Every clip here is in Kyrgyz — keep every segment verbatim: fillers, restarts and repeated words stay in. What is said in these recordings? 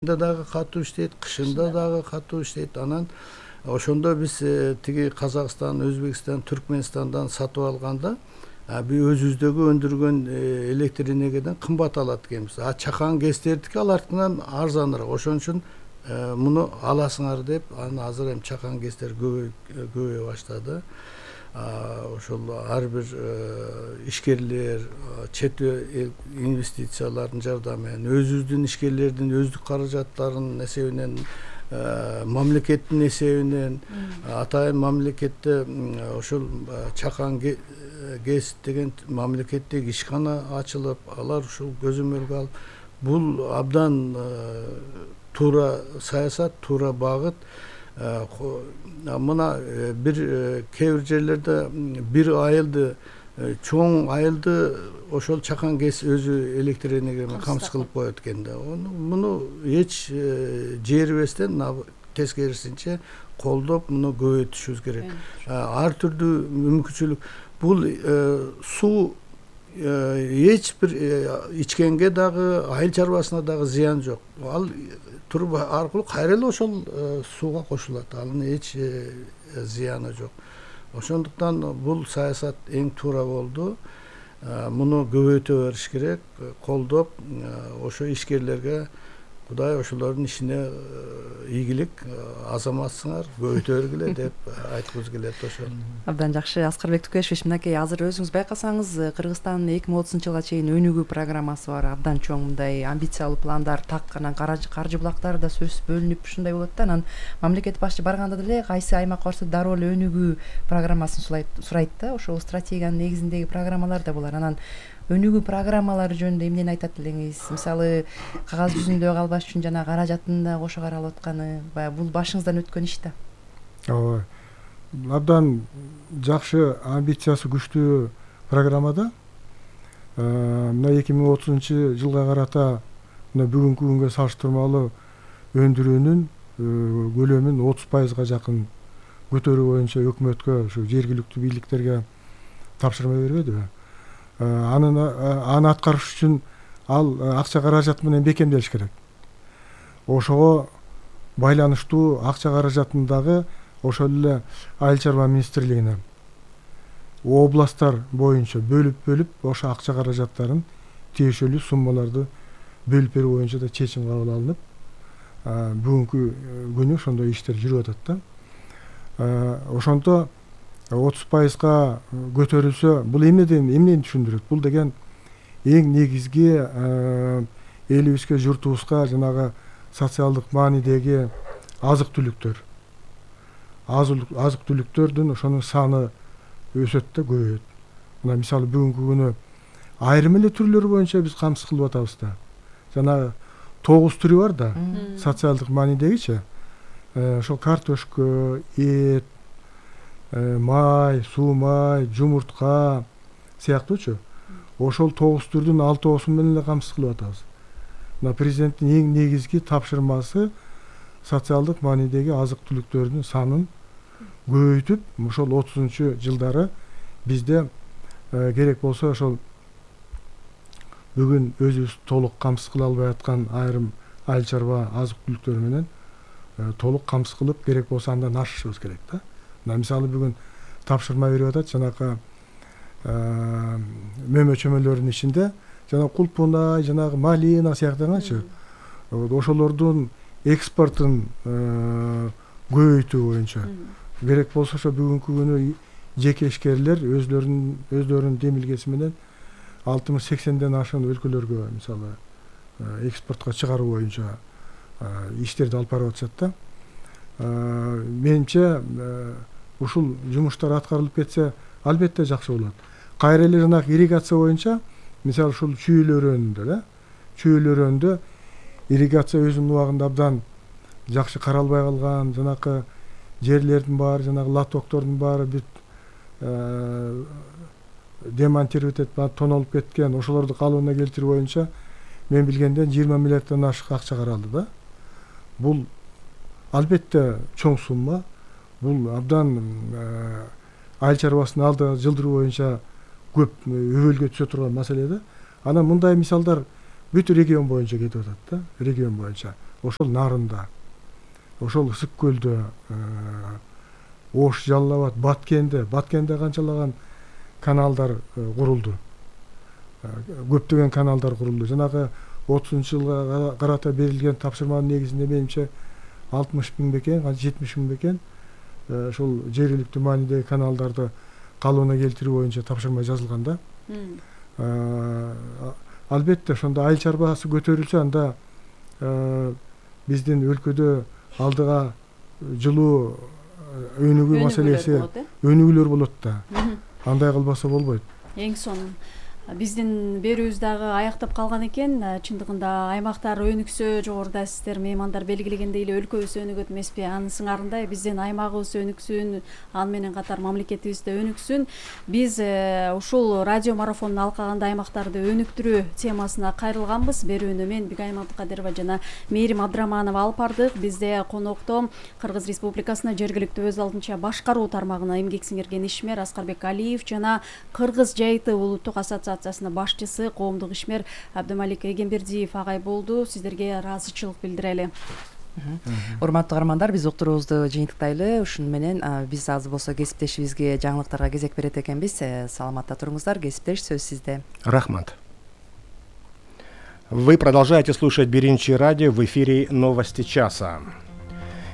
дагы катуу иштейт, кышында дагы катуу иштейт. Анан ошондо биз тиги Казакстан, Өзбекстан, Түркмөнстандан сатып алганда биз өзүбүздөгү өндүргөн электр энергиядан кымбат алат экенбиз. А чакан ГЭСтердики алардыкынан арзаныраак. Ошон үчүн муну аласыңар деп, анан азыр эми чакан ГЭСтер көбөйө баштады. Ошол ар бир ишкерлер чет эл инвестициялардын жардамы менен, өзүбүздүн ишкерлердин өздүк каражаттарынын эсебинен, мамлекеттин эсебинен, атайын мамлекетте ошол чакан ГЭС деген мамлекеттик ишкана ачылып, алар ушул көзөмөлгө алып, бул абдан туура саясат, туура багыт. Мына бир кээ бир жерлерде бир айылды, чоң айылды ошол чакан ГЭС өзү электр энергия менен камсыз кылып коет экен да. Муну эч жээрибестен, тескерисинче колдоп, муну көбөйтүшүбүз керек. Ар түрдүү мүмкүнчүлүк. Бул суу эч бир ичкенге дагы, айыл чарбасына дагы зыян жок. Ал туруба аркылуу кайра эле ошол сууга кошулат. Анын эч зыяны жок. Ошондуктан бул саясат эң туура болду. Муну көбөйтө бериш керек, колдоп, ошо ишкерлерге Кудай ошолордун ишине ийгилик, азаматсыңар, көбөйтө бергиле деп айткыбыз келет ошол. Абдан жакшы, Аскарбек Тукешевич, мынакей азыр өзүңүз байкасаңыз, Кыргызстандын эки миң отузунчу жылга чейин өнүгүү программасы бар, абдан чоң мындай амбициялуу пландар, так анан каржы булактары да сөзсүз бөлүнүп ушундай болот да. Анан мамлекет башчы барганда деле кайсы аймак барса дароо эле өнүгүү программасын сурайт да. Ошол стратегиянын негизиндеги программалар да булар. Анан өнүгүү программалары жөнүндө эмнени айтат элеңиз? Мисалы, кагаз жүзүндө калбаш үчүн жана каражатын да кошо каралып атканы, баягы бул башыңыздан өткөн иш да. Ооба. Абдан жакшы, амбициясы күчтүү программада. Мына эки миң отузунчу жылга карата мына бүгүнкү күнгө салыштырмалуу өндүрүүнүн көлөмүн отуз пайызга жакын көтөрүү боюнча өкмөткө, ушу жергиликтүү бийликтерге тапшырма бербедиби? Анын аны аткарыш үчүн ал акча каражаты менен бекемделиш керек. Ошого байланыштуу акча каражатын дагы ошол эле Айыл чарба министрлигине областтар боюнча бөлүп-бөлүп, ошо акча каражаттарын тиешелүү суммаларды бөлүп берүү боюнча да чечим кабыл алынып, бүгүнкү күнү ошондой иштер жүрүп атат да. Ошондо отуз пайызга көтөрүлсө, бул эмнеден эмнени түшүндүрөт? Бул деген эң негизги элибизге, журтубузга жанагы социалдык маанидеги азык-түлүктөр. Азык-түлүктөрдүн ошонун саны өсөт да, көбөйөт. Мына мисалы бүгүнкү күнү айрым эле түрлөрү боюнча биз камсыз кылып атабыз да. Жанагы тогуз түрү бар да, социалдык маанидегичи. Ошол картошка, эт, май, суу май, жумуртка сыяктуучу. Ошол тогуз түрдүн алтоосун менен эле камсыз кылып атабыз. Мына президенттин эң негизги тапшырмасы социалдык маанидеги азык-түлүктөрдүн санын көбөйтүп, ошол отузунчу жылдары бизде керек болсо ошол бүгүн өзүбүз толук камсыз кыла албай аткан айрым айыл чарба азык-түлүктөр менен толук камсыз кылып, керек болсо андан ашышыбыз керек да. Мына мисалы бүгүн тапшырма берип атат, жанагы мөмө чөмөлөрдүн ичинде жана кулпунай, жанагы малина сыяктагачы ошолордун экспортун көбөйтүү боюнча керек болсо ошо бүгүнкү күнү жеке ишкерлер өзлөрүнүн өздөрүнүн демилгеси менен алтымыш сексенден ашык өлкөлөргө мисалы экспортко чыгаруу боюнча иштерди алып барып атышат да. Менимче ушул жумуштар аткарылып кетсе, албетте жакшы болот. Кайра эле жанагы ирригация боюнча, мисалы ушул чүйүл өрөөнүндө да, чүйүл өрөөнүндө ирригация өзүнүн убагында абдан жакшы каралбай калган, жанакы жерлердин баары, жанагы лотоктордун баары бүт демонтировать этип, тонолуп кеткен, ошолорду калыбына келтирүү боюнча мен билгенден жыйырма миллиарддан ашык акча каралды да. Бул албетте чоң сумма. Бул абдан айыл чарбасынын алдыга жылдыруу боюнча көп өбөлгө түшө турган маселе да. Анан мындай мисалдар бүт регион боюнча кетип атат да, регион боюнча. ошол нарында, ошол ысык көлдө, Ош, Жалал Абад, Баткенде, Баткенде канчалаган каналдар курулду. Көптөгөн каналдар курулду. Жанагы отузунчу жылга карата берилген тапшырманын негизинде менимче алтымыш миң бекен, жетимиш миң бекен ошол жергиликтүү маанидеги каналдарды калыбына келтирүү боюнча тапшырма жазылган да. Албетте ошондо айыл чарбасы көтөрүлсө, анда биздин өлкөдө алдыга жылуу өнүгүү маселеси, өнүгүүлөр болот да. Андай кылбаса болбойт. Эң сонун биздин берүүбүз дагы аяктап калган экен. Чындыгында аймактар өнүксө, жогоруда сиздер меймандар белгилегендей эле өлкөбүз өнүгөт эмеспи? Анын сыңарындай биздин аймагыбыз өнүксүн, аны менен катар мамлекетибиз да өнүксүн. Биз ушул радио марафондун алкагында аймактарды өнүктүрүү темасына кайрылганбыз. Берүүнү мен Бигайым Абдыкадырова жана Мээрим Абдыраманова алып бардык. Бизде конокто Кыргыз Республикасына жергиликтүү өз алдынча башкаруу тармагына эмгек сиңирген ишмер Аскарбек Алиев жана Кыргыз Жайыты улуттук ассоциациясынын башчысы, коомдук ишмер Абдымалик Эгембердиев агай болду. Сиздерге ыраазычылык билдирели. Урматтуу каармандар, биз уктуруубузду жыйынтыктайлы. Ушуну менен биз азыр болсо кесиптешибизге жаңылыктарга кезек берет экенбиз. Саламатта туруңуздар. Кесиптеш, сөз сизде. Рахмат. Вы продолжаете слушать Биринчи радио, в эфире «Новости часа».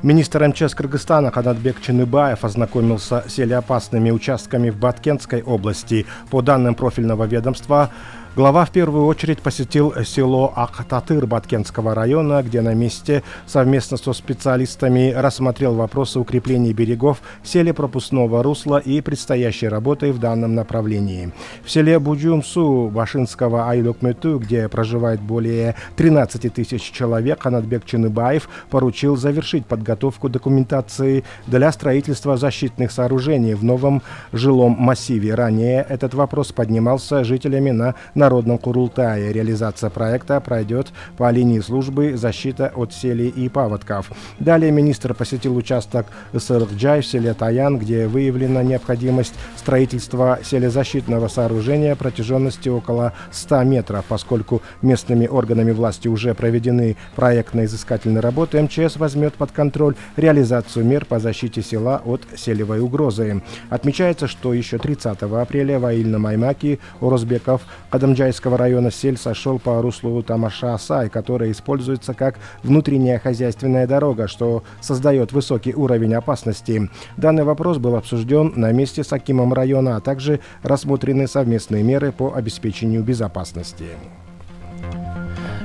Министр МЧС Кыргызстана Канатбек Чыныбаев ознакомился с селеопасными участками в Баткенской области. По данным профильного ведомства, глава в первую очередь посетил село Актатыр Баткенского района, где на месте совместно со специалистами рассмотрел вопросы укрепления берегов, селепропускного русла и предстоящей работы в данном направлении. В селе Буджумсу Башинского айлөкмөтү, где проживает более тринадцати тысяч человек, Канатбек Чыныбаев поручил завершить подготовку документации для строительства защитных сооружений в новом жилом массиве. Ранее этот вопрос поднимался жителями на Народном Курултае. Реализация проекта пройдет по линии службы защита от селей и паводков. Далее министр посетил участок Сырыкджай в селе Таян, где выявлена необходимость строительства селезащитного сооружения протяженностью около ста метров. Поскольку местными органами власти уже проведены проектно-изыскательные работы, МЧС возьмет под контроль реализацию мер по защите села от селевой угрозы. Отмечается, что еще тридцатого апреля в Аильном-Аймаке Орозбеков Кадамджайского района сель сошел по руслу Тамаша-Асай, которая используется как внутренняя хозяйственная дорога, что создает высокий уровень опасности. Данный вопрос был обсужден на месте с акимом района, а также рассмотрены совместные меры по обеспечению безопасности.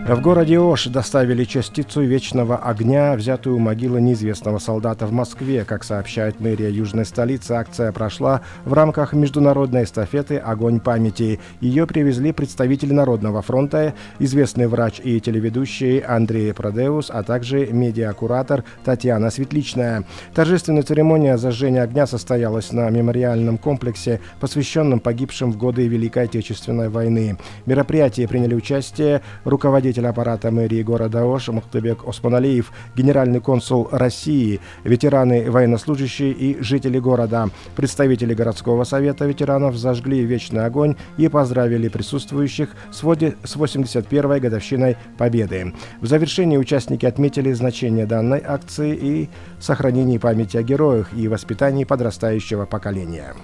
В городе Ош доставили частицу вечного огня, взятую у могилы неизвестного солдата в Москве. Как сообщает мэрия южной столицы, акция прошла в рамках международной эстафеты «Огонь памяти». Ее привезли представители Народного фронта, известный врач и телеведущий Андрей Продеус, а также медиакуратор Татьяна Светличная. Торжественная церемония зажжения огня состоялась на мемориальном комплексе, посвященном погибшим в годы Великой Отечественной войны. В мероприятии приняли участие руководитель аппарата мэрии города Ош Мухтыбек Осмоналиев, генеральный консул России, ветераны, военнослужащие и жители города. Представители городского совета ветеранов зажгли вечный огонь и поздравили присутствующих с восемьдесят первой годовщиной Победы. В завершении участники отметили значение данной акции и сохранении памяти о героях и воспитании подрастающего поколения.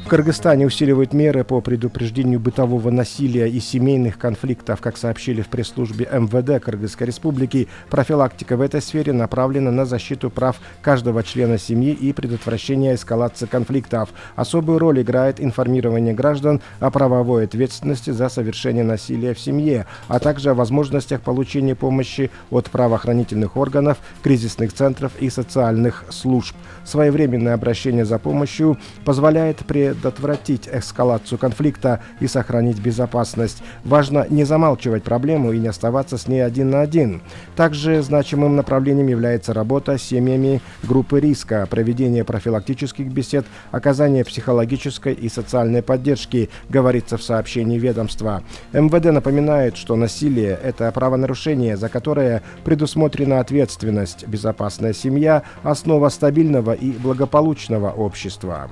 В Кыргызстане усиливают меры по предупреждению бытового насилия и семейных конфликтов. Как сообщили в пресс-службе МВД Кыргызской Республики, профилактика в этой сфере направлена на защиту прав каждого члена семьи и предотвращение эскалации конфликтов. Особую роль играет информирование граждан о правовой ответственности за совершение насилия в семье, а также о возможностях получения помощи от правоохранительных органов, кризисных центров и социальных служб. Своевременное обращение за помощью позволяет предотвратить эскалацию конфликта и сохранить безопасность. Важно не замалчивать проблему и не оставаться с ней один на один. Также значимым направлением является работа с семьями группы риска, проведение профилактических бесед, оказание психологической и социальной поддержки, говорится в сообщении ведомства. МВД напоминает, что насилие – это правонарушение, за которое предусмотрена ответственность. Безопасная семья – основа стабильного и благополучного общества.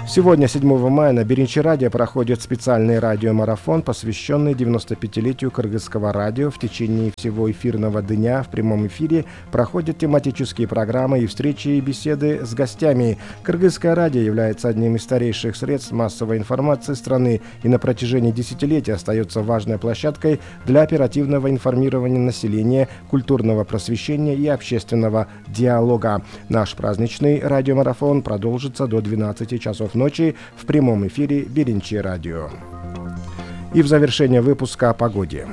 Сегодня, седьмого мая, на Биринчи радио проходит специальный радиомарафон, посвященный девяностопятилетию кыргызского радио. В течение всего эфирного дня в прямом эфире проходят тематические программы и встречи и беседы с гостями. Кыргызское радио является одним из старейших средств массовой информации страны и на протяжении десятилетий остается важной площадкой для оперативного информирования населения, культурного просвещения и общественного диалога. Наш праздничный радиомарафон продолжится до двенадцати часов ночи в прямом эфире Биринчи радио. И в завершение выпуска о погоде.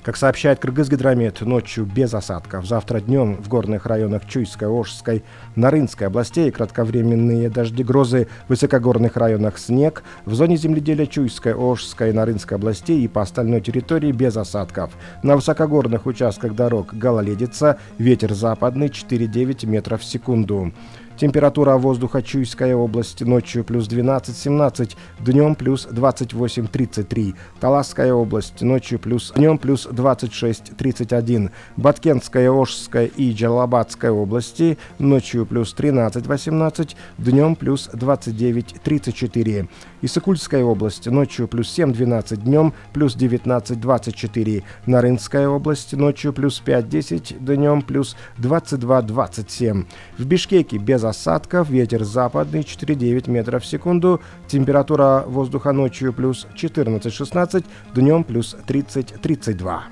Как сообщает Кыргызгидромет, ночью без осадков. Завтра днем в горных районах Чуйской, Ошской, Нарынской областей кратковременные дожди, грозы, в высокогорных районах снег. В зоне земледелия Чуйской, Ошской, Нарынской областей и по остальной территории без осадков. На высокогорных участках дорог гололедица, ветер западный четыре-девять метров в секунду. Температура воздуха Чуйская область ночью плюс двенадцать-семнадцать, днем плюс двадцать восемь-тридцать три. Таласская область ночью плюс днем плюс двадцать шесть-тридцать один. Баткентская, Ошская и Джалабадская области ночью плюс тринадцать-восемнадцать, днем плюс двадцать девять-тридцать четыре. Исыкульская область ночью плюс семь-двенадцать, днем плюс девятнадцать-двадцать четыре. Нарынская область ночью плюс пять-десять, днем плюс двадцать два-двадцать семь. В Бишкеке без осадков, ветер западный четыре-девять метров в секунду, температура воздуха ночью плюс четырнадцать-шестнадцать, днем плюс тридцать-тридцать два.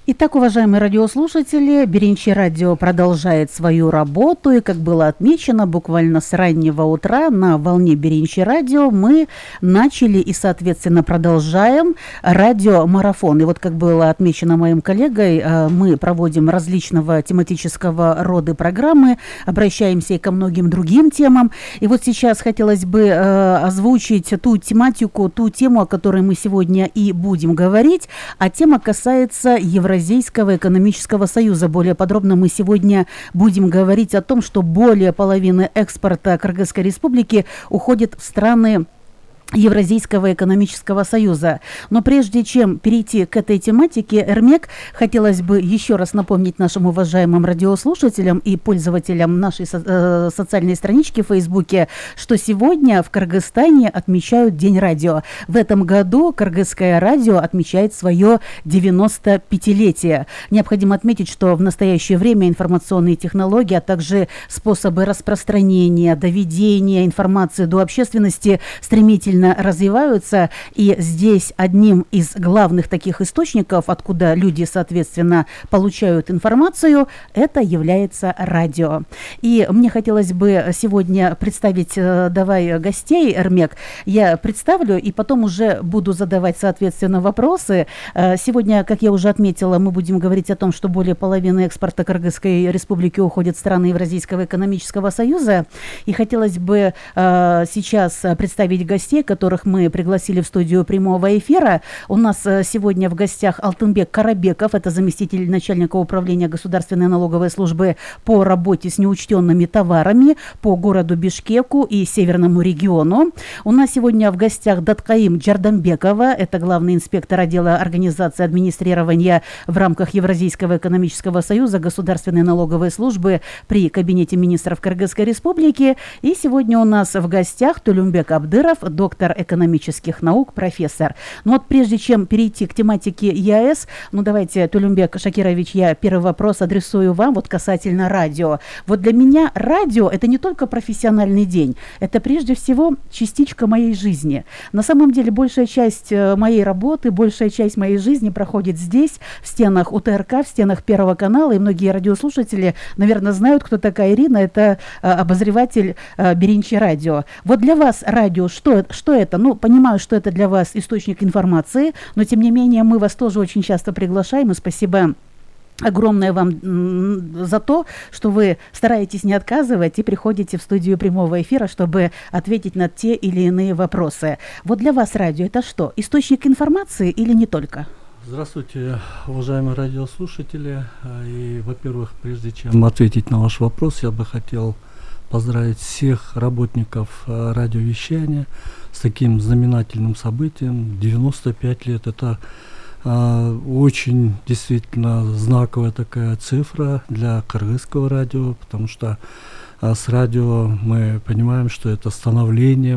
Итак, уважаемые радиослушатели, Биринчи радио продолжает свою работу, и, как было отмечено, буквально с раннего утра на волне Биринчи радио мы начали и, соответственно, продолжаем радиомарафон. И вот, как было отмечено моим коллегой, мы проводим различного тематического рода программы, обращаемся и ко многим другим темам. И вот сейчас хотелось бы озвучить ту тематику, ту тему, о которой мы сегодня и будем говорить, а тема касается Евразийского Евразийского экономического союза. Более подробно мы сегодня будем говорить о том, что более половины экспорта Кыргызской республики уходит в страны Евразийского экономического союза. Но прежде чем перейти к этой тематике, Эрмек, хотелось бы еще раз напомнить нашим уважаемым радиослушателям и пользователям нашей со- э, социальной странички в Фейсбуке, что сегодня в Кыргызстане отмечают День радио. В этом году Кыргызское радио отмечает свое девяностопятилетие. Необходимо отметить, что в настоящее время информационные технологии, а также способы распространения, доведения информации до общественности стремительно развиваются, и здесь одним из главных таких источников, откуда люди, соответственно, получают информацию, это является радио. И мне хотелось бы сегодня представить, давай, гостей, Эрмек. Я представлю, и потом уже буду задавать, соответственно, вопросы. Сегодня, как я уже отметила, мы будем говорить о том, что более половины экспорта Кыргызской республики уходит в страны Евразийского экономического союза. И хотелось бы сейчас представить гостей, которых мы пригласили в студию прямого эфира. У нас сегодня в гостях Алтынбек Карабеков, это заместитель начальника управления Государственной налоговой службы по работе с неучтенными товарами по городу Бишкеку и северному региону. У нас сегодня в гостях Даткаим Джардамбекова, это главный инспектор отдела организации администрирования в рамках Евразийского экономического союза Государственной налоговой службы при Кабинете министров Кыргызской республики. И сегодня у нас в гостях Тулюмбек Абдыров, доктор экономических наук, профессор. Ну вот прежде чем перейти к тематике ЕАЭС, ну давайте, Тулюмбек Шакирович, я первый вопрос адресую вам вот касательно радио. Вот для меня радио — это не только профессиональный день, это прежде всего частичка моей жизни. На самом деле большая часть моей работы, большая часть моей жизни проходит здесь, в стенах УТРК, в стенах Первого канала, и многие радиослушатели, наверное, знают, кто такая Ирина, это обозреватель Биринчи радио. Вот для вас радио, что, что это? Ну, понимаю, что это для вас источник информации, но тем не менее мы вас тоже очень часто приглашаем, и спасибо огромное вам за то, что вы стараетесь не отказывать и приходите в студию прямого эфира, чтобы ответить на те или иные вопросы. Вот для вас радио — это что? Источник информации или не только? Здравствуйте, уважаемые радиослушатели. И, во-первых, прежде чем ответить на ваш вопрос, я бы хотел поздравить всех работников радиовещания с таким знаменательным событием. девяносто пять лет — это А, Очень действительно знаковая такая цифра для кыргызского радио, потому что а, с радио мы понимаем, что это становление